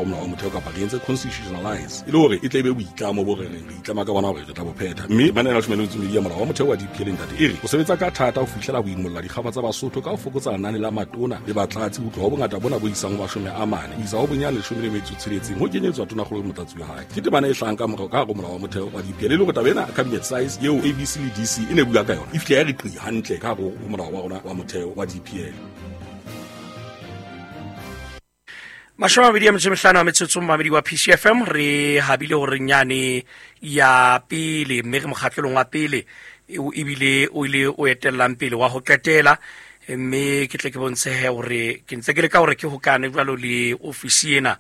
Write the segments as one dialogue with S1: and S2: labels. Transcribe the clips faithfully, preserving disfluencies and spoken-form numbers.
S1: Molao wa motheo kapa re entse constitutionalize e le hore e tle e be boitlamo bo re reng re itlama ka bona hore re tla bo phetha. Mme manane a leshome le metso e mmedi ya molao wa motheo wa D P L, ntate, e re o sebetsa ka thata ho fihlela ho imolla dikgaba tsa Basotho ka ho fokotsa lenane la matona le batlatsi ho tloha ho bongata bona bo isang ho mashome a mane ho isa ho bonyane leshome le metso e tsheletseng, ho kenyetswa tonakgolo le motlatsi wa hae. Ke temana e hlahang ka morao ka hare ho molao wa motheo wa D P L, e le hore taba ena cabinet size eo A B C le D C e ne bua ka yona e fihla ya re qi hantle ka hare ho molao wa rona wa motheo wa D P L.
S2: Mashome a mabedi a metso e mehlano a metsotso mmamedi wa P C F M, re habile hore nyane ya pele mme re mokgahlelong wa pele ebile o ile o etellang pele wa ho qetela, mme ke tle ke bontshe he hore ke ntse ke leka hore ke hokane jwalo le ofisi ena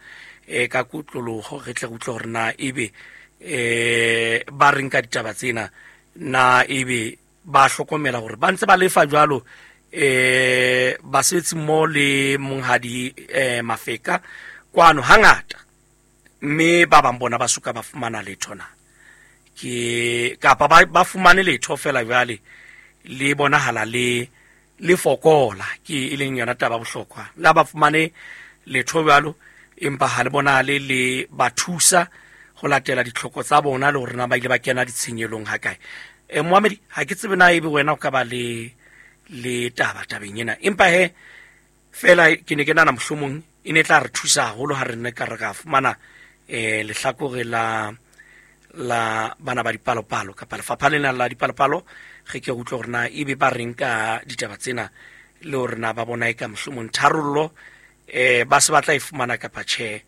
S2: e ka kutloloho, re tle re utlwe hore na ebe eh ba reng ka ditaba tsena, na ebe ba hlokomela hore ba ntse ba lefa jwalo eh basebetsi mo le monghadi eh Mafeka kwano hangata, mme ba bang bona ba suka ba fumana letho na ke kapa ba, ba fumane letho fela jwale le bonahala le le fokola, ke e leng yona taba bohlokwa la ba fumane letho jwalo empa ha le bonahale le ba thusa ho latela ditlhoko tsa bona le hore na ba ile ba kena ditshenyelong ha kae. Eh Mohamedi, ha ke tsebe na ebe wena o ka ba le le taba tabeng ena, empa he fela ke ne ke nahana mohlomong e ne tla re thusa haholo ha re ne ka re ka fumana eh lehlakore la la bana ba dipalopalo kapa lefapha lena la dipalopalo, re ke utlwe hore na ebe ba reng ka ditaba tsena le hore na ba bona e ka mohlomong tharollo eh ba se batla e fumana kapa tjhe.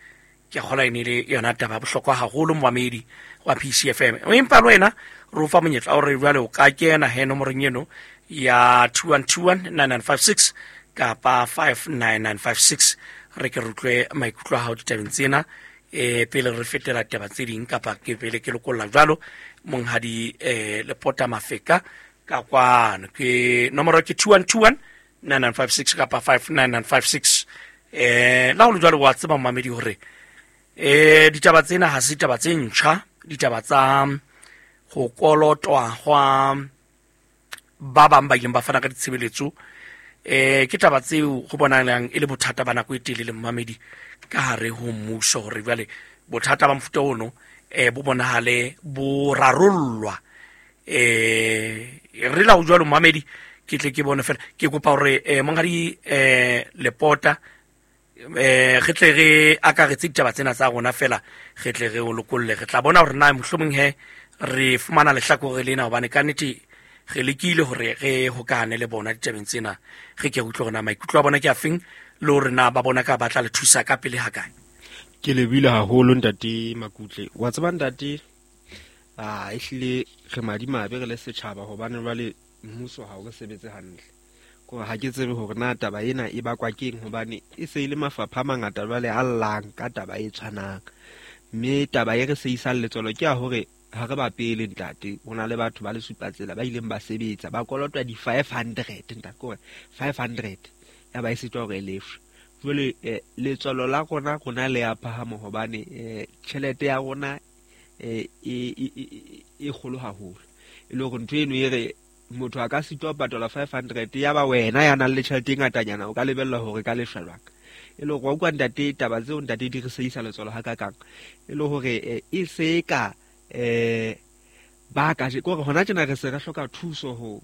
S2: Ke kgola e ne le yona taba ya bohlokwa haholo momamedi wa P C F M, empa le wena re o fa monyetla wa hore jwale o ka kena he nomorong eno ya two one two one nine nine five six kapa five nine nine five six, re ke re utlwe maikutlo a hao ditabeng tsena eh pele re fetela taba tse ding kapa ke pele ke lokolla jwalo monghadi eh Lepota Mafeka ka kwano. Ke nomoro ke two one two one nine nine five six kapa five nine nine five six. Eh la ho le jwalo wa tseba momamedi hore eh ditaba tsena ha se ditaba tse ntjha, ditaba tsa ho kolotwa hwa ba bang ba ileng ba fana ka ditshebeletso eh ke taba tseo ho bonahalang e le bothata ba nako e telele momamedi ka hare ho mmuso, hore jwale bothata ba mofuta ono eh bo bonahale bo rarollwa. Eh re la ho jwalo momamedi, ke tle ke bone fela ke kopa hore eh monghadi eh Lepota eh re tle re akaretse ditaba tsena tsa rona fela, re tle re o lokolle, re tla bona hore na mohlomong he re fumana lehlakore lena, hobane ka nnete re lekile hore re hokane le bona ditabeng tsena, re ke utlwe hore na maikutlo a bona ke afeng le hore na ba bona ka batla le thusa ka pele ha kae.
S3: Ke lebile haholo ntate Makutle. Wa tseba ntate, ah ehlile re madimabe re le setjhaba hobane jwale mmuso ha o re sebetse hantle. Ko ha ke tsebe hore na taba ena e bakwa keng, hobane e se ile mafapha a mangata jwale a llang ka taba e tshwanang. Mme taba e re se isang letswalo ke ya hore ha re ba pele ntate, ho na le batho ba le supatsela ba ileng ba sebetsa ba kolotwa di five hundred ntate, kore five hundred ya ba e sitwa hore e lefshwe. Jwale eh, letswalo la rona rona le ya phahama hobane eh, tjhelete ya rona eh, e e e kgolo haholo, e le hore ntho eno e re motho a ka sitwa ho patala five hundred ya ba wena ya nang le tjhelete e ngatanyana o ka lebella hore ka lefshwa jwang. E le hore wa utlwa ntate, taba tseo ntate di re seisa letswalo ha kakang, e le hore e se ka eh ba ka je kore hona tjena re se re hloka thuso ho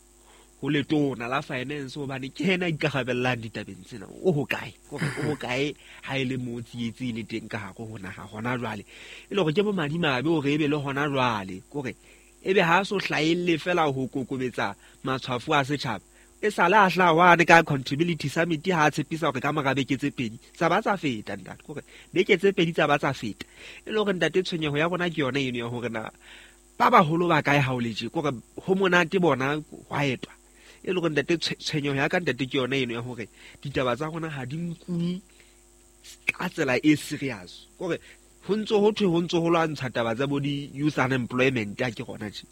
S3: ho letona la finance, hobane ke yena a ikarabellang ditabeng tsena. O hokae? Kore o hokae ha e le mo tsietsi le teng ka hare ho naha hona jwale, e le hore ke bo madimabe hore ebe le hona jwale kore ebe ha so hlahelle fela ho kokobetsa matshwafo a setjhaba, e sale a hlaha hwane ka accountability summit ha a tshepisa hore ka mora beke tse pedi tsa ba tsa feta ntate, kore beke tse pedi tsa ba tsa feta. E le hore ntate tshwenyeho ya rona ke yona eno ya hore na ba baholo ba kae ha o le tje, kore ho monate bona hwa etwa. E le hore ntate tshwenyeho ya ka ntate ke yona eno ya hore ditaba tsa rona ha di nkuwe ka tsela e serious, kore ho ntso ho thwe ho ntso ho lwantsha taba tsa bo di youth unemployment ha ke rona tje,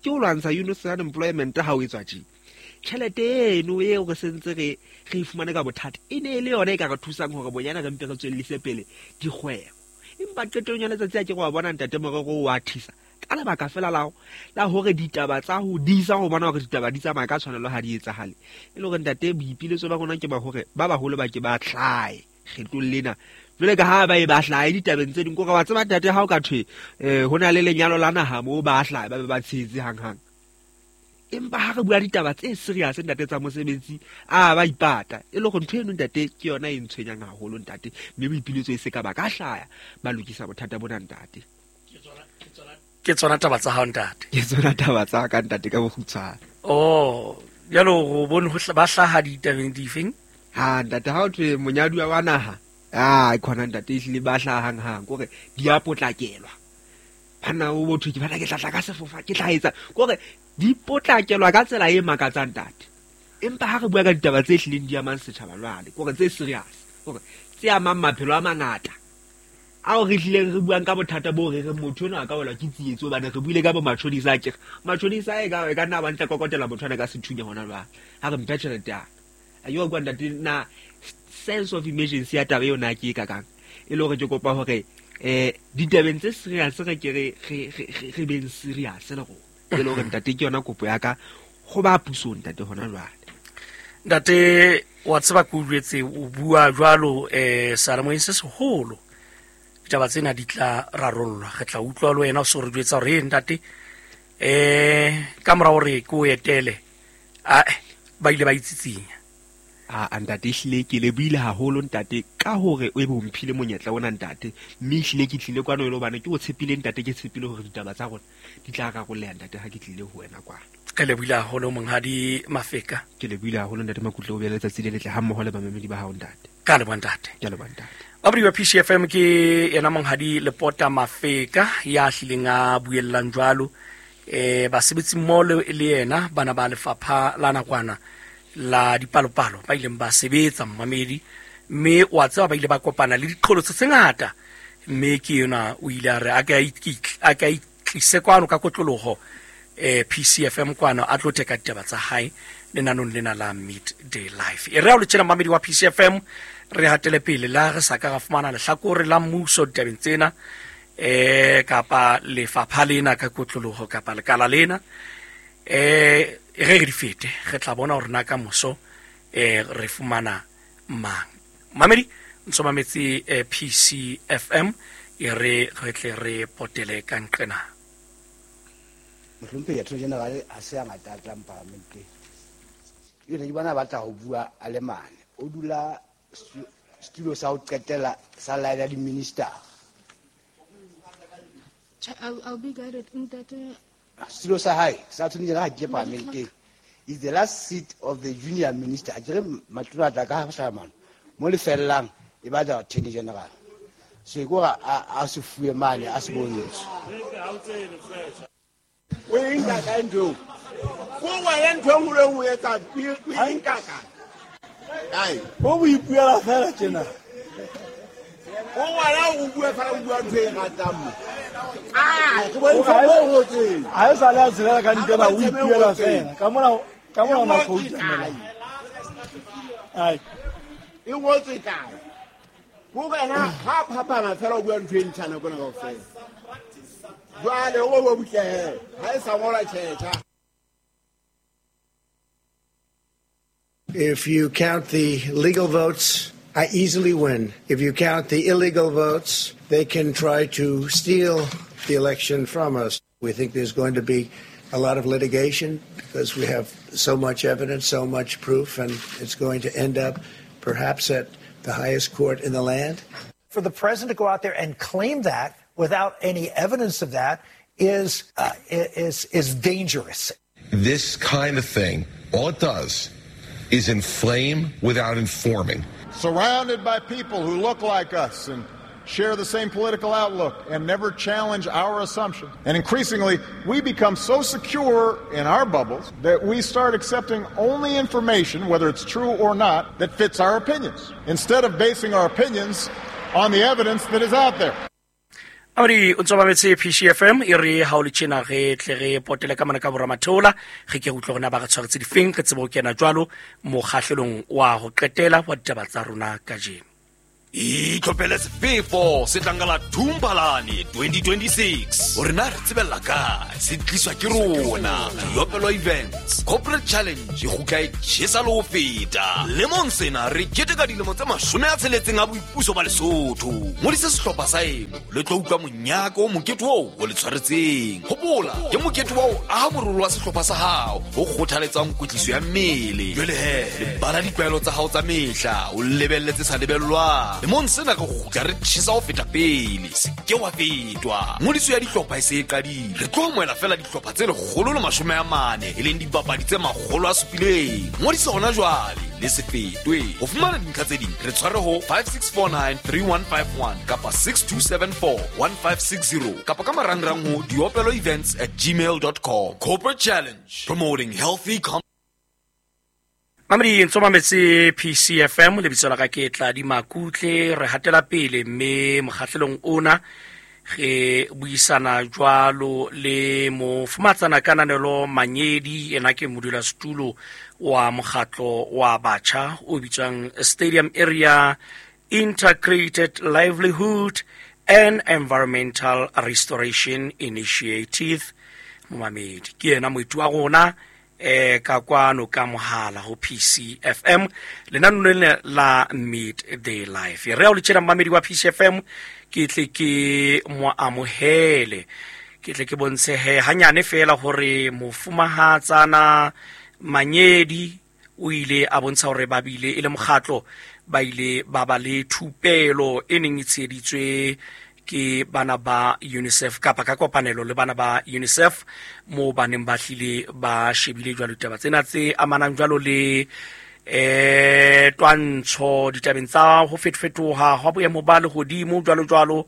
S3: ke ho lwantsha youth unemployment ha o etswa tje. Tjhelete eno eo re sentse re re fumane ka bothata e ne e le yona e ka re thusang hore bonyana re mpe re tswellise pele dikgwebo, empa qetellong ya letsatsi a ke go bona ntate morero wa thisa ka lebaka fela la la hore ditaba tsa ho disa ho bona hore ditaba di tsamaya ka tshwanelo ha di etsahale. E le hore ntate boipiletso ba rona ke ba hore ba baholo ba ke ba hlae kgetlong lena jwale ka ha ba e ba hlahe ditabeng tse ding kore wa tseba ntate ha o ka thwe um ho na le lenyalo la naha moo ba hlahe ba be ba tshehetse hanghang. Empa ha re bua ditaba tse serious ntate tsa mosebetsi a ba ipata e le gore ntho eno ntate ke yona e ntshwenyang haholo ntate, mme boipiletso e se ka ba ka hlaya ba lokisa bothata bona ntate.
S2: Ke tsona taba tsa hao ntate?
S3: Ke tsona taba tsa ka ntate ka bokgutshwane.
S2: Oh, jalo go bone ho ba hlaha ditabeng difeng?
S3: Ha ntate ha o thwe monyaduwa wa naha, ah khona ntate ehlile ba hlaha hanghang kore di a potlakelwa. Bana o botho ke bana ke tla tla ka sefofa ke tla etsa kore di potlakelwa ka tsela e makatsang ntate. Empa ha re bua ka ditaba tse hlileng di amang setjhaba jwale kore tse serious kore tse amang maphelo a mangata ao re hlileng re buang ka bothata bo re re motho ona a ka welwa ke tsietsi hobane re buile ka bo matjhonisa a kere matjhonisa e ka e ka nna ba ntla kokotela motho ana ka sethunya hona jwale ha re mphe tjhelete ya ka. Yo kwa ntate na sense of emergency ya taba eo na ke e kakang e le hore ke kopa hore eh ditabeng tse serious re ke re re re beng serious le rona e le hore ntate ke yona kopo ya ka ho ba pusong ntate hona jwale.
S2: Ntate wa tseba ke o jwetse o bua jwalo eh seyalemoyeng se seholo ditaba tsena di tla rarollwa, re tla utlwa le wena o so re jwetsa hore ntate eh ka mora hore ke o etele a ba ile ba itsitsinya.
S3: A ntate ehlile ke le buile haholo ntate ka hore o ebe o mphile monyetla ona ntate, mme ehlile ke tlile kwano e le hobane ke o tshepile ntate, ke tshepile hore ditaba tsa rona di tla rarolleha ntate ha ke tlile ho wena kwano.
S2: Ke le buile haholo monghadi Mafeka.
S3: Ke le buile haholo ntate Makutle, o be le letsatsi le letle ha mmoho le bamamedi ba hao ntate.
S2: Ka leboha ntate.
S3: Ke leboha ntate.
S2: Babadi wa P C F M ke yena monghadi Lepota Mafeka ya hlileng a buellang jwalo eh basebetsi mmoho le yena bana ba lefapha la nakwana la dipalopalo ba ileng ba sebetsa mmamedi, mme wa tseba ba ile ba kopana le diqholotso tse ngata, mme ke yona o ile a re a ka a ka itlise kwano ka kotloloho eh P C F M kwano a tlo teka ditaba tsa hae lenanong lena la Midday Life. E re ha o le tjena mmamedi wa P C F M re hatele pele la re sa ka ra fumana lehlakore la mmuso ditabeng tsena eh kapa lefapha lena ka kotloloho kapa lekala lena eh re re di fete re tla bona hore na ka moso eh re fumana mang. Mamedi ntso mametse eh, P C F M e re re tle re potele ka nqena.
S4: Mohlomphehi Attorney General ha se a ngata a tlang parlamenteng. Ene ke bona batla ho bua a le mane. O dula studio sa ho qetela sa line ya di-minister.
S5: I'll, I'll be guided ntate.
S4: Studio sa hae sa Attorney General ha ke parlamenteng is the last seat of the junior minister. A kere matona tla ka hlama mo le fellang e batla Attorney General. So e kore a se fuwe mane a se bontshe.
S6: O e nka kae ntho eo? Ko wena ntho e nngwe le nngwe o etsa o e nka kae? Kae?
S7: O bo ipuela fela tjena.
S6: O wena o bua fela o bua ntho e ratang mo. Ah, ke bontsha mo o ngotseng.
S7: Ha e sale a tshelela ka ditaba o ipuela fela. Ka mona ka mona ona khouta mela. Ai.
S6: E ngotswe kae? Ko wena ha phapana fela o bua ntho e ntjha nako ena kaofela. Jwale o bo butle he, ha e sa ngola tjhetjha.
S8: If you count the legal votes, I easily win. If you count the illegal votes, they can try to steal the election from us. We think there's going to be a lot of litigation because we have so much evidence, so much proof, and it's going to end up perhaps at the highest court in the land.
S9: For the president to go out there and claim that without any evidence of that is uh, is is dangerous.
S10: This kind of thing, all it does is inflame without informing.
S11: Surrounded by people who look like us and share the same political outlook and never challenge our assumptions. And increasingly, we become so secure in our bubbles that we start accepting only information, whether it's true or not, that fits our opinions, instead of basing our opinions on the evidence that is out there.
S2: Amri o ntso mametse P C F M e re ha o le tjena re tle re potele ka mona ka boramatheola re ke utlwe rona ba re tshwaretse difeng re tsebe ho kena jwalo mokgahlelong wa ho qetela wa ditaba tsa rona kajeno.
S12: Itlhophele sefefo se tlang ka la Thumpalane twenty twenty-six. Hore na re tsebella kae, se tliswa ke rona. Diopelo Events Corporate Challenge e kgutla e tjhesa le ho feta. Lemong sena re keteka dilemo tse mashome a tsheletseng a boipuso ba Lesotho. Ngodisa sehlopha sa eno le tlo utlwa monyaka o mokete oo o le tshwaretseng. Hopola, ke mokete wa ho aha morolo wa sehlopha sa hao o kgothaletsang kwetliso ya mmele. Jwale he, lebala ditlwaelo tsa hao tsa mehla, o lebelletse sa lebellwang. Lemong sena re kgutla re tjhesa ho feta pele, se ke wa fetwa. Ngodiso ya dihlopha e se e qadile. Re tlo amohela feela dihlopha tse lekgolo le mashome a mane, e leng dipapadi tse makgolo a supileng. Ngodiso hona jwale, le se fetwe. Ho fumana dintlha tse ding, re tshware ho five six four nine three one five one kapa six two seven four one five six zero kapa ka marangrang ho diopelo events at gmail dot com. Corporate Challenge, promoting healthy com.
S2: Mamedi ntso mametse P C F M, lebitso la ka ke Tladi Makutle. Re hatela pele mme mokgahlelong ona re buisana jwalo le mofumatsana Kananelo Manyedi, ena ke modulasetulo wa mokgatlo wa batjha o bitswang Stadium Area Integrated Livelihood and Environmental Restoration Initiative. Momamedi ke yena moeti wa rona eh ka kwano ka mohala ho P C F M lenaneo lena la Midday Life. Re a o le tjena mamedi wa P C F M, ke tle ke mo amohele, ke tle ke bontshe he hanyane fela hore mofumahatsana Manyedi o ile a bontsha hore ba bile e le mokgatlo, ba ile ba ba le thupelo e neng e tsheheditswe ke bana ba UNICEF kapa ka kopanelo le bana ba UNICEF, mo ba neng ba hlile ba shebile jwalo ditaba tsena tse amanang jwalo le eh twantsho ditabeng tsa ho fetofetoha hwa boemo ba lehodimo jwalo jwalo,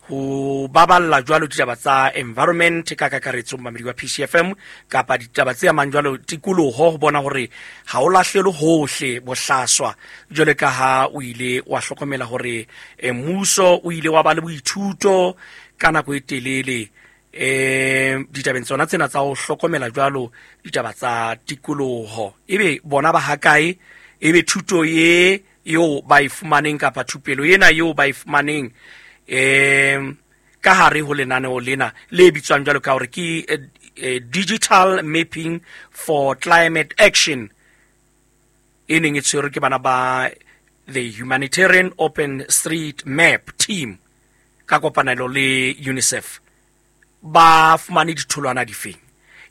S2: ho baballa jwalo ditaba tsa environment ka kakaretso mamedi wa P C F M kapa ditaba tse amang jwalo tikoloho, ho bona hore ha o lahlelwe hohle bohlaswa jwale ka ha o ile wa hlokomela hore mmuso o ile wa ba le boithuto ka nako e telele eh ditabeng tsona tsena tsa ho hlokomela jwalo ditaba tsa tikoloho. Ebe bona ba hakae, ebe thuto ye eo ba e fumaneng kapa thupelo ena eo ba e fumaneng eh ka hare ho lenaneo lena le bitswang jwalo ka hore ke Digital Mapping for Climate Action e neng e tshwerwe ke bana ba the Humanitarian Open Street Map Team ka kopanelo le UNICEF, ba fumane ditholwana difeng?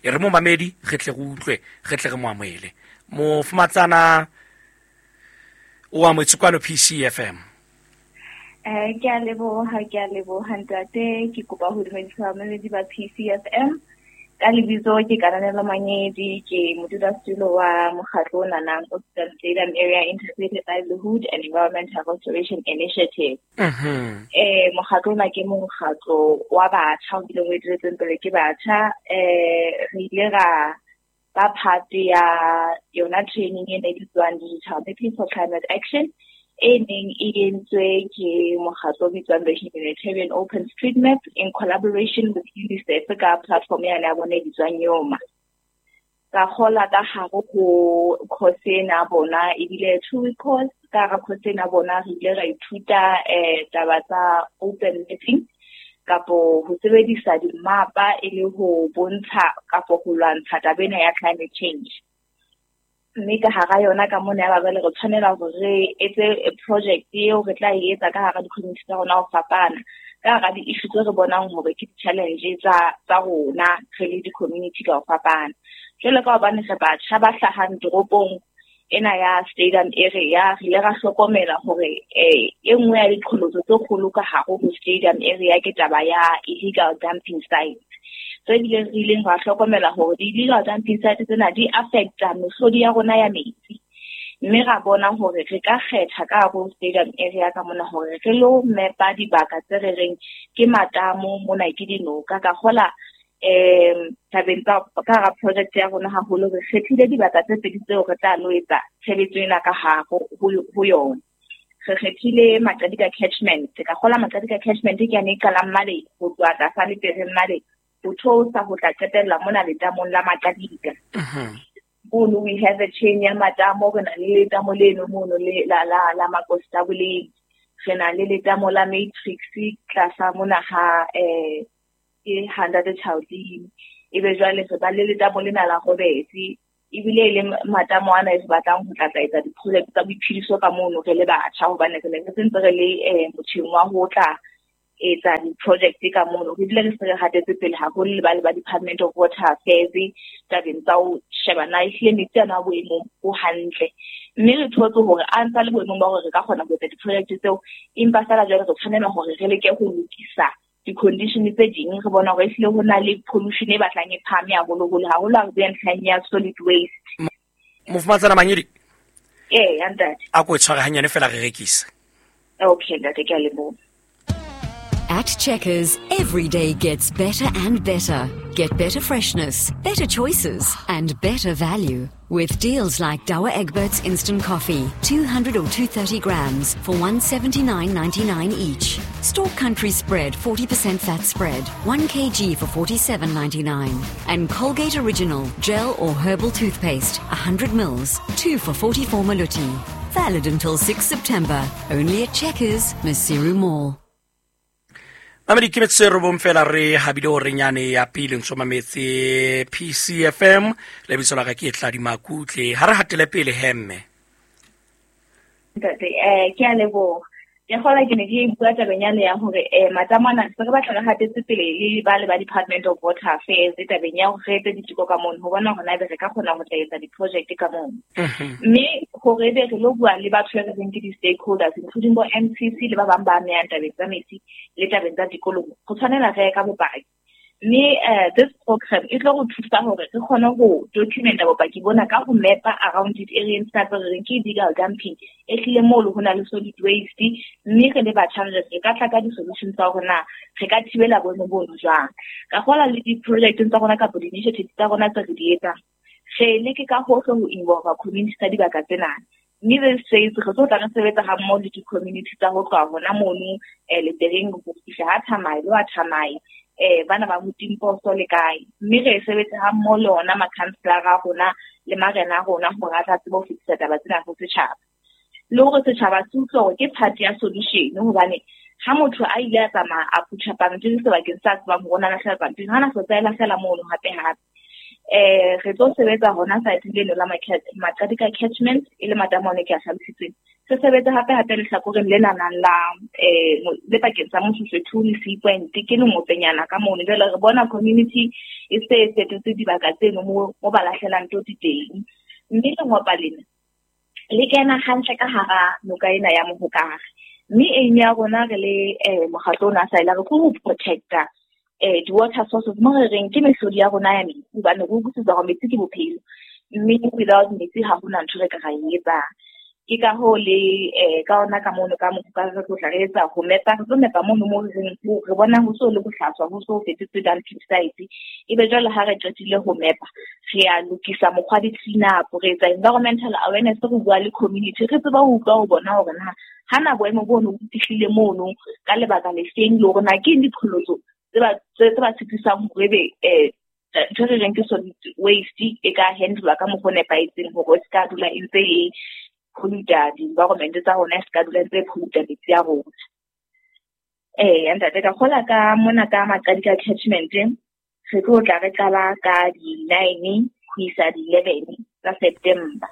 S2: E re momamedi re tle re utlwe, re tle re mo amohele. Mofumatsana o amohetse kwano P C F M.
S13: Eh ke a leboha, ke a leboha ntate, ke kopa ho dumedisa bamamedi ba P C F M. Ka lebitso ke Kananelo Manyedi, ke modulasetulo wa mokgatlo o nanang o bitswang Stadium Area Integrated Livelihood and Environmental Restoration Initiative.
S2: Mhm.
S13: Eh mokgatlo ona ke mokgatlo wa batjha o bileng o eteletsweng pele ke batjha. Eh re ile ra ba part ya yona training e ne e bitswang Digital Mapping for Climate Action, e neng e entswe ke mokgatlo o bitswang the Humanitarian Open Street Map in collaboration with UNICEF ka platform ya ya bona e bitswang Yoma. Ka kgola ka hare ho course ena bona, ebile two week course. Ka hara course ena bona re ile ra ithuta eh taba tsa open mapping kapo ho sebedisa dimapa e le ho bontsha kapo ho lwantsha taba ena ya climate change. Mme ka hara yona ka mona ya ba le re tshwanela hore re etse project eo re tla e etsa ka hara di-community tsa rona ho fapana, ka hara di-issue tse re bonang hore ke di-challenge tsa tsa rona re le di-community ka ho fapana. Jwalo ka hobane re batjha ba hlahang toropong ena ya Stadium Area, re ile ra hlokomela hore eh e nngwe ya diqholotso tse kgolo ka hare ho Stadium Area ke taba ya illegal dumping sites. Tse bileng re ileng ra hlokomela hore di-illegal dumping sites tsena di affecta mehlodi ya rona ya metsi. Mme ra bona hore re ka kgetha ka hare ho Stadium Area ka mona hore re lo mapa dibaka tse re reng ke matamo, mona ke dinoka. Ka kgola eh tabeng tsa ka hara project ya rona haholo re kgethile dibaka tse pedi tseo re tla lo etsa tshebetso ena ka hare ho yona. Re kgethile Maqadika Catchment. Ka kgola Maqadika Catchment ke yane e qalang male ho tloha tlasa Lepereng male ho theosa ho tla qetella mona letamong la Maqadika. Mono we have a chain ya matamo, re na le letamo leno mono le la la la Makostaboleng. Re na le letamo la Matrix tlasa mona ha eh ke Hundred Chaldini. Ebe jwale re ba le letamo lena la Robetse. Ebile e le matamo ana e se batlang ho tla tla etsa di-project tsa boiphediso ka mono re le batjha, hobane re ne re sentse re le eh motjheng wa ho tla etsa di-project ka mono. Re bile re se re hatetse pele haholo le ba le ba Department of Water Affairs tabeng tsa ho sheba na ehlile metsi ana a boemong bo hantle. Mme re thotse hore a ntsa le boemong ba hore re ka kgona ho etsa di-project tseo, empa feela jwale re tshwanela hore re leke ho lokisa di-condition tse ding. Re bona hore ehlile ho na le pollution e batlang e phahame haholoholo, haholo ha re bua ntlheng ya solid waste.
S2: Mofumahatsana Manyedi.
S13: Ee, ntate.
S2: A ko e tshware hanyane fela re rekise.
S13: Okay, ntate, ke a leboha.
S14: At Checkers, every day gets better and better. Get better freshness, better choices, and better value. With deals like Douwe Egberts Instant Coffee, two hundred or two hundred thirty grams for one seventy-nine ninety-nine each. Stork Country Spread, forty percent fat spread, one kilogram for forty-seven ninety-nine. And Colgate Original, gel or herbal toothpaste, one hundred mils, two for forty-four maluti. Valid until sixth September. Only at Checkers, Maseru Mall.
S2: Mamedi ke metsotso e robong fela re habile hore nyane ya pele ntso mametse P C F M le bitso la ka ke Tladi Makutle. Ha re hatele pele hemme.
S13: Ntate, eh ke a leboha. Ke kgola ke ne ke bua tabeng yane ya hore eh matamo ana se re batla re hatetse pele le ba le ba Department of Water Affairs tabeng ya hore re etse diteko ka mono ho bona hore na ebe re ka kgona ho tla etsa di-project ka mono. Mme hore ebe re lo bua le batho ba re reng ke di-stakeholders including bo M C C le ba bang ba amehang tabeng tsa metsi le tabeng tsa tikoloho, go tshwanela re ye ka bopaki. Mme eh this program e tlo go thusa hore re kgone ho documenta bopaki bona ka ho mapa around it area tsa re reng ke illegal dumping e hlile moo le ho na le solid waste. Mme re le batjha re re ka tla ka di-solution tsa hore na re ka thibela boemo bono jwang. Ka kgola le di-project tsa rona kapa di-initiatives tsa rona tse re di etsang, re leke ka hohle ho involve community tsa dibaka tsena. Mme re se re tlo tla re sebetsa ha mmoho le di-community tsa ho tloha hona mono eh Letereng ho fihla ha Thamai le wa Thamai, eh bana ba Motimposo le kae. Mme re sebetsa ha mmoho le ona makhanselara a rona le marena a rona hore a tla tsebe ho fetisa taba tsena ho setjhaba. Le hore setjhaba se utlwe hore ke part ya solution, hobane ha motho a ile a tsamaya a phutha pampiri sebakeng sa tsebang hore o na lahlela pampiri, ha na hlotsa e lahlela mono hape hape. Eh re tlo sebetsa hona saeteng leno la Maqadika catchment e le matamo one ke a hlalositseng. Se sebetsa hape hape lehlakoreng lena nang la eh le pakeng tsa Moshoeshoe le Sea Point ke lengopenyana ka mono. Jwale re bona community e se e fetotse dibaka tseno mo mo ba lahlelang toti teng. Mme lengopa lena le kena hantle ka hara noka ena ya Mohokare. Mme aim ya rona re le eh mokgatlo ona sa ila re go protecta eh di-water sources mo re reng ke mehlodi ya rona ya metsi, hobane re utlwisisa hore metsi ke bophelo, mme without metsi ha hona ntho re ka ra e etsang. Ke ka hoo le eh ka ona ka mono ka Mohokare re tlo tla re etsa ho mepa, re tlo mepa mono mo re reng re bona ho so le bohlaswa, ho so fetotswe dumping site. Ebe jwale ha re qetile ho mepa, re a lokisa mokgwa di-clean up, re etsa environmental awareness, re bua le community, re tseba ho utlwa ho bona hore na hana boemo bono bo fihlile mono ka lebaka le feng, le hore na ke eng diqholotso tse ba tse ba tshepisang hore ebe eh ntho re reng ke solid waste e ka handlwa ka mokgwa o nepahetseng hore e se ka dula e ntse e polluta di-environment tsa rona, e se ka dula e ntse e polluta metsi a rona. Eh ntate, ka kgola ka mona ka Maqadika catchment re tlo tla re qala ka di-nine ho isa di-eleven tsa September.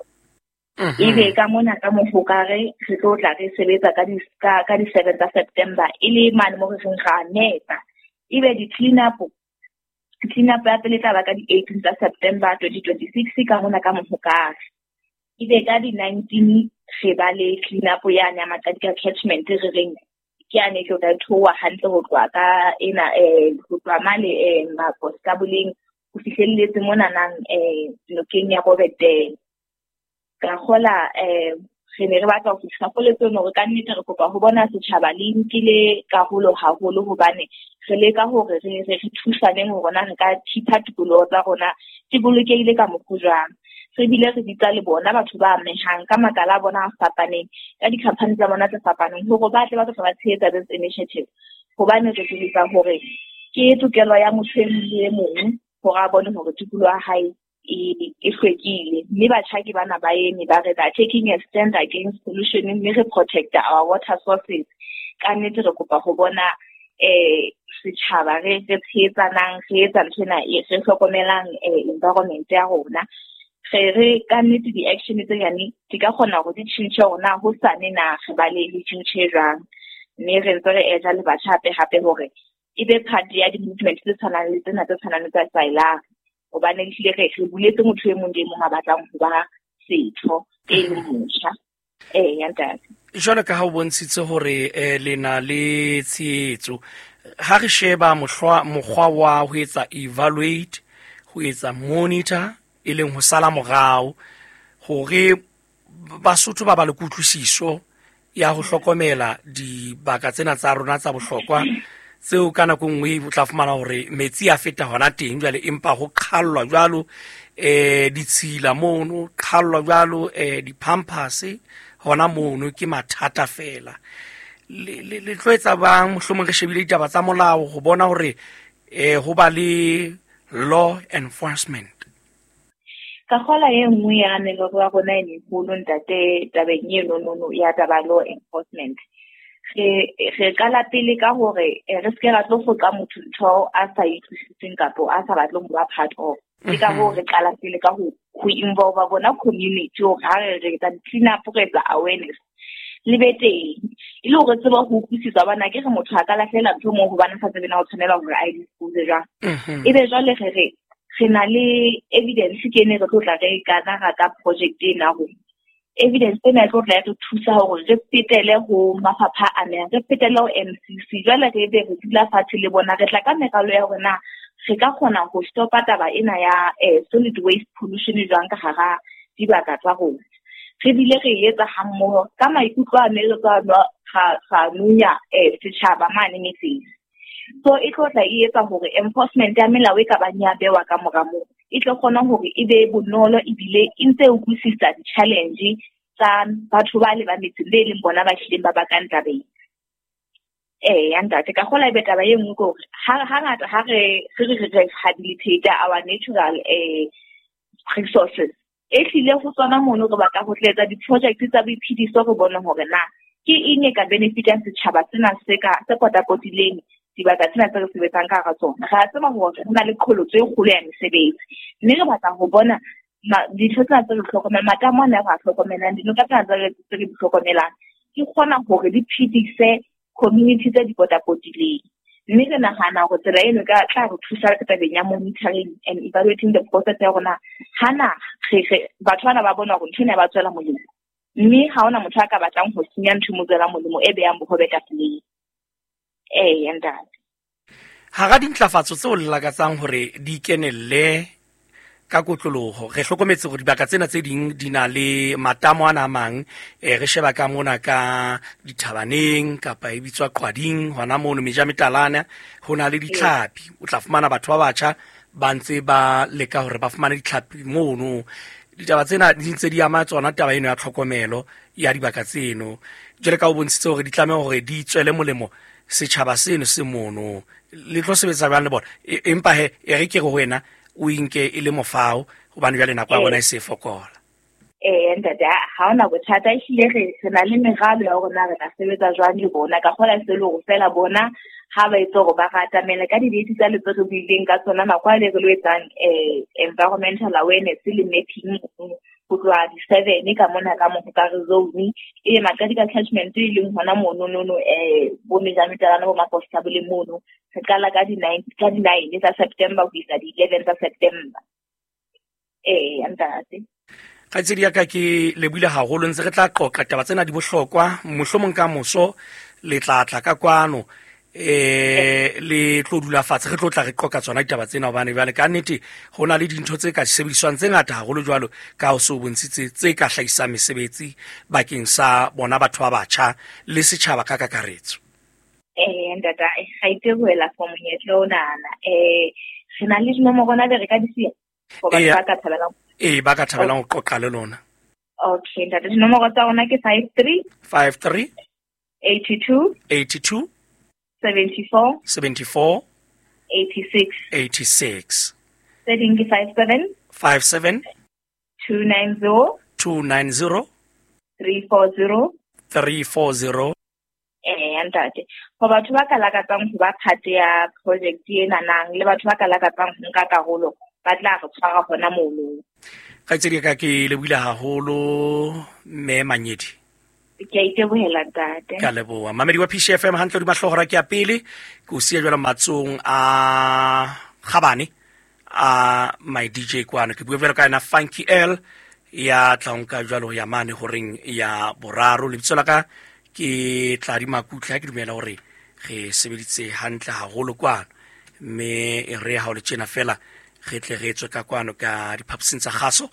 S13: Ebe ka mona ka Mohokare re tlo tla re sebetsa ka di ka ka di-seven tsa September e le mane mo re reng ra nepa. Ebe di-clean up clean up ya pele tla ba ka di-eighteen tsa September twenty twenty-six ka mona ka Mohokare. Ebe ka di-nineteen re ba le clean up yane ya Maqadika catchment re reng ke yane e tlo tla theoha hantle ho tloha ka ena eh ho tloha mane eh Makoskaboleng ho fihlelletse mona nang eh nokeng ya Robert Dam. Ka kgola eh re ne re batla ho fihla poletsong hore ka nnete re kopa ho bona setjhaba le nkile karolo haholo, hobane re leka hore re re thusaneng hore na re ka thipa tikoloho tsa rona di bolokehile ka mokgwa jwang. Re bile re bitsa le bona batho ba amehang ka makala a bona a fapaneng, ka di-company tsa bona tse fapaneng, hore ba tle ba tlo ba tshehetsa this initiative, hobane re tsebisa hore ke tokelo ya motho e mong le e mong hore a bone hore tikoloho ya hae e e hlwekile. Mme batjha ke bana ba eme ba re they are taking a stand against pollution, mme re protect our water sources. Ka nnete re kopa ho bona eh setjhaba re re tshehetsanang, re etsa nthwena e re hlokomelang eh environment ya rona. Re re ka nnete di-action tse nyane di ka kgona hore di tjhentjhe hore na hosane na re ba le le tjhentjhe jwang. Mme re ntse re etsa le batjha hape hape hore e be part ya di-movement tse tshwanang le tsena tse tshwanang le tsa Sailari, hobane ehlile re re buletse motho e mong le e mong a batlang ho ba setho e leng motjha. Ee, ya ntate.
S2: Jwalo ka ha o bontshitse hore eh, le na le tshehetso, ha re sheba mohlwa mokgwa wa ho etsa evaluate, ho etsa monitor, e leng ho sala morao hore Basotho ba ba le kutlwisiso ya ho hlokomela dibaka tsena tsa rona tsa bohlokwa tseo ka nako nngwe o tla fumana hore metsi a feta hona teng jwale, empa ho qhallwa jwalo eh ditshila mono, qhallwa jwalo eh di-pampers hona mono, ke mathata fela. Le le le tlo etsa bang mohlomong re shebile ditaba tsa molao ho bona hore eh ho ba le law enforcement?
S13: Ka kgola e nngwe ya merero ya rona e meholo ntate tabeng eno nono ya taba law enforcement. Re re qala pele ka hore eh, re seke ra tlo foqa motho ntho a sa e utlwisiseng kapo a sa batleng ho ba part of. Ke ka hoo re qala pele ka ho ho involve bona community hore ha re re etsa clean up, re etsa awareness le be teng, e le hore re tsebe ho utlwisisa hobane akere motho a ka lahlela ntho moo hobane a sa tsebe na o tshwanela hore a e dispose jwang. Ebe jwale re re re na le evidence ke ene re tlo tla re kana ra ka project ena hore evidence ena e tlo tla re thusa hore re fetele ho mafapha a amehang, re fetele ho M C C. Jwale re be re dula fatshe le bona, re tla ka meralo ya hore na re ka kgona ho stopa taba ena ya eh, solid waste pollution jwang ka hara dibaka tsa rona. Re bile re etsa hammoho ka maikutlo a ne re tswa ra nunya eh, setjhaba mane metseng. So e tlo tla e etsa hore enforcement ya melao e ka bang ya bewa ka mora moo e tlo kgona hore e be bonolo ebile e ntse e utlwisisa di-challenge tsa batho ba le ba metseng be leng bona ba hlileng ba bakang tabeng. Ee, ya ntate, ka kgola ebe taba e nngwe ke hore ha hangata ha re re re rehabilitate our natural eh resources, e hlile ho tsona mono re batla ho tla etsa di-project tsa boiphediso re bone hore na ke eng e ka benefitang setjhaba sena se ka se potapotileng dibaka tsena tse re sebetsang ka hara tsona. Re a tseba hore ho na le qholotso e kgolo ya mesebetsi, mme re batla ho bona dintho tsena tse re hlokomelang, matamo ana re a hlokomelang, dinoka tsena tse re tse re di hlokomelang, di kgona hore di phedise community tse di potapotileng. Mme re nahana hore tsela eno e ka tla re thusa ka tabeng ya monitoring and evaluating the process ya rona. Hana re re batho bana ba bona hore ntho ena e ba tswela molemo, mme ha hona motho a ka batlang ho senya ntho e mo tswelang molemo e behang bohobe tafoleng. Ee, ntate.
S2: Hara dintlafatso tseo le lakatsang hore di kenelle ka kotloloho, re hlokometse hore dibaka tsena tse ding di na le matamo ana a mang, eh, re sheba ka mona ka dithabaneng kapa e bitswa Qwading hona mono Mejametalana, ho na le ditlhapi. O tla fumana batho ba batjha ba ntse ba leka hore ba fumane ditlhapi mono. Ditaba tsena di ntse di ama tsona taba eno ya tlhokomelo ya dibaka tseno. Jwale ka o bontshitse hore di tlameha hore di tswele molemo setjhaba seno se mono, le tlo sebetsa jwang le bona? Empa he e re ke re ho wena o inke e le mofao hobane jwale nako ya bona e se fokola.
S13: Ee, ntate, ha hona bothata. Ehlile re re na le meralo ya hore na re tla sebetsa jwang le bona. Ka kgola se le hore feela bona ha ba itse hore ba re atamele ka di-date tsa le tse re buileng ka tsona nako a le re lo etsang eh environmental awareness le mapping ho tloha di-seven ka mona ka mo ka re zone e Maqadi ka catchment e leng hona mono nono eh bo Mejametalana bo Maposta bo le mono. Re qala ka di-nine ka di-nine tsa September ho isa di-eleven tsa September. Ee, ntate.
S2: Kgaitsedi ya ka, ke lebohile haholo. Ntse re tla qoqa taba tsena di bohlokwa, mohlomong ka moso le tla tla ka kwano eh le tlo dula fatshe, re tlo tla re qoqa tsona ditaba tsena, hobane jwale ka nnete ho na le dintho tse ka sebediswang tse ngata haholo jwalo ka ho so bontshitse tse ka hlahisang mesebetsi bakeng sa bona batho ba batjha le setjhaba ka kakaretso.
S13: Eh ntate, ga itebohela for monyetla onana. Eh re na le dinomoro na be re ka di siya for batho ba ka thabelang?
S2: Ee, ba ka thabelang ho qoqa le lona.
S13: Okay ntate, dinomoro tsa rona ke five three
S2: five three
S13: eighty two
S2: eighty two
S13: seventy four
S2: seventy four
S13: eighty six
S2: eighty six.
S13: Tse ding ke five seven
S2: five seven
S13: two nine zero
S2: two nine zero
S13: three four zero
S2: three four zero.
S13: Eh, ntate. Ho batho ba ka lakatsang ho ba part ya project ena nang le batho ba ka lakatsang ho nka karolo ba tla re tshwara hona mono.
S2: Kgaitsedi ka ke lebohile haholo mme Manyedi.
S13: Ke a itebohela ntate.
S2: Ka leboha. Mamedi wa P C F M hantle di mahlohora ke ya pele ke o siya jwalo matsong a Gabane a my D J kwano ke bua jwalo ka yena Funky L ya tla nka jwalo ya mane horeng ya boraro. Lebitso la ka ke Tladi Makutla, ke dumela hore re sebeditse hantle haholo kwano mme e re ha o le tjena fela re tle re tswe ka kwano ka diphaposing tsa kgaso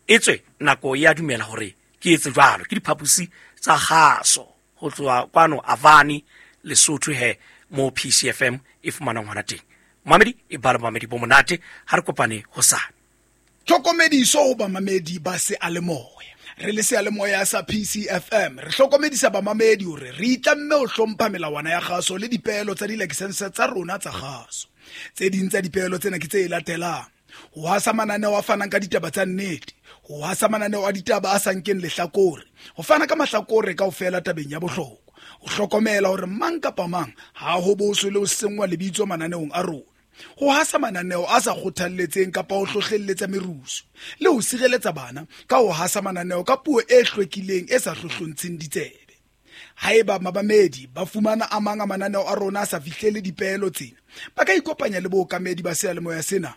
S2: etswe nako ya dumela hore ke etse jwalo ke diphaposi tsa kgaso ho tloha kwano Avani Lesotho he mo P C F M e fumanang hona teng. Mamedi e bala mamedi bo monate ha re kopane hosane.
S15: Tlhokomediso ho bamamedi ba seyalemoya. Re le seyalemoya sa P C F M re hlokomedisa bamamedi hore re itlamme ho hlompha melawana ya kgaso le dipeelo tsa dilakesense tsa rona tsa kgaso. Tse ding tsa dipeelo tsena ke tse latelang: ho hasa mananeo a fanang ka ditaba tsa nnete, ho hasa mananeo a ditaba a sa nkeng lehlakore, ho fana ka mahlakore kaofela tabeng ya bohlokwa, ho hlokomela hore mang kapa mang ha ho boswe le ho senngwa lebitso mananeong a rona, ho hasa mananeo a sa kgothalletseng kapa ho hlohlelletsa merusu, le ho sireletsa bana ka ho hasa mananeo ka puo e hlwekileng e sa hlohlontsheng ditsebe. Haeba mabamedi ba fumana a mang a mananeo a rona a sa fihlele dipeelo tsena, ba ka ikopanya le bookamedi ba seyalemoya sena.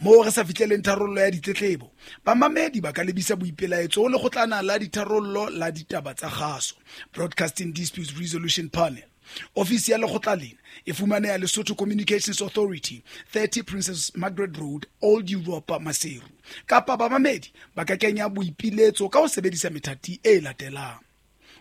S15: Moo re sa fihleleng tharollo ya ditletlebo, bamamedi ba ka lebisa boipelaetso ho lekgotlana la ditharollo la ditaba tsa kgaso, Broadcasting Disputes Resolution Panel. Ofisi ya lekgotla lena e fumaneha Lesotho Communications Authority, thirty Princess Margaret Road, Old Europa, Maseru. Kapa bamamedi ba ka kenya boipiletso ka ho sebedisa methati e latelang: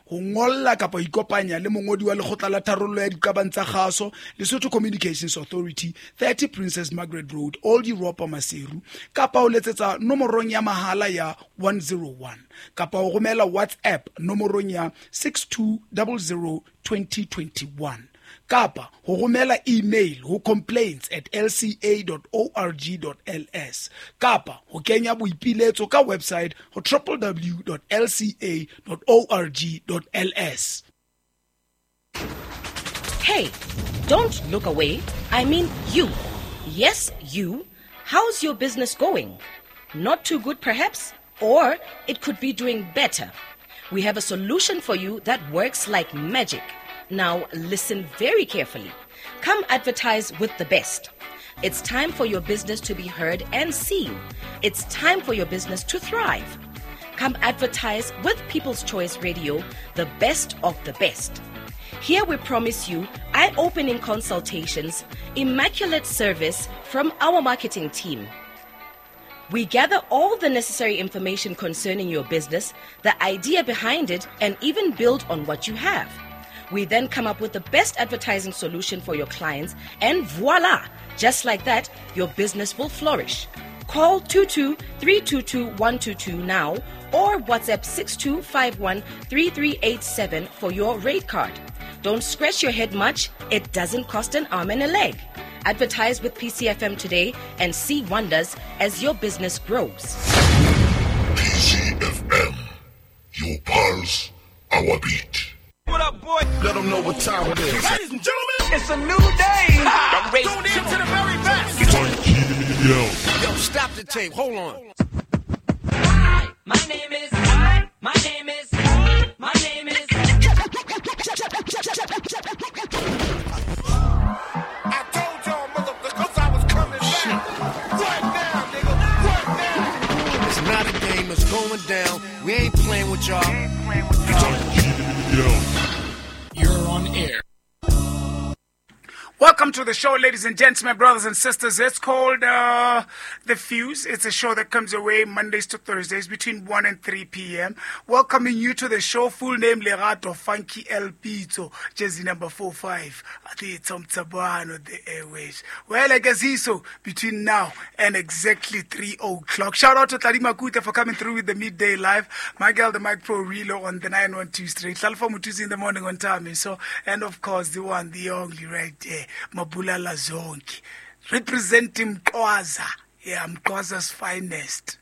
S15: ho ngolla kapa ho ikopanya le mongodi wa lekgotla la tharollo ya diqabang tsa kgaso, Lesotho Communications Authority, thirty Princess Margaret Road, Old Europa, Maseru, kapa ho letsetsa nomorong ya mahala ya one zero one, kapa ho romela WhatsApp nomorong ya six two zero zero twenty twenty-one, kapa ho romela email ho complaints at l c a dot org dot l s, kapa ho kenya boipiletso ka website ho w w w dot l c a dot org dot l s.
S16: Hey, don't look away. I mean you. Yes, you. How's your business going? Not too good perhaps, or it could be doing better. We have a solution for you that works like magic. Now listen very carefully. Come advertise with the best. It's time for your business to be heard and seen. It's time for your business to thrive. Come advertise with People's Choice Radio, the best of the best. Here we promise you eye-opening consultations, immaculate service from our marketing team. We gather all the necessary information concerning your business, the idea behind it, and even build on what you have. We then come up with the best advertising solution for your clients, and voila! Just like that, your business will flourish. Call two two three two two one two two now or WhatsApp six two five one three three eight seven for your rate card. Don't scratch your head much. It doesn't cost an arm and a leg. Advertise with P C F M today and see wonders as your business grows.
S17: P C F M, your pulse, our beat.
S18: What up, boy?
S17: Let them know what time it is.
S18: Ladies and gentlemen, it's a new day. I'm ready. Tune in to the very best.
S17: Yo,
S18: Yo, stop the tape. Hold on.
S19: Hi, my name is. My name is. My name is.
S17: I told y'all motherfuckers I was coming back. Right now, nigga. Right now.
S18: It's not a game. It's going down. We ain't playing with y'all.
S20: You're on air.
S21: Welcome to the show, ladies and gentlemen, brothers and sisters. It's called uh, The Fuse. It's a show that comes your way Mondays to Thursdays between one and three p.m. Welcoming you to the show, full name Lerato Funky El Pito, jersey number four five at the Tom Tabano, the airways. Well, I guess so between now and exactly three o'clock. Shout out to Tladi Makuta for coming through with the midday live. My girl, the Mic Pro Relo on the nine one two straight. Salfa Mutuzi in the morning on time. So, and of course, the one, the only right there, Mabulala Zonke, representing Kwaza. Yeah, Mxhosa's finest.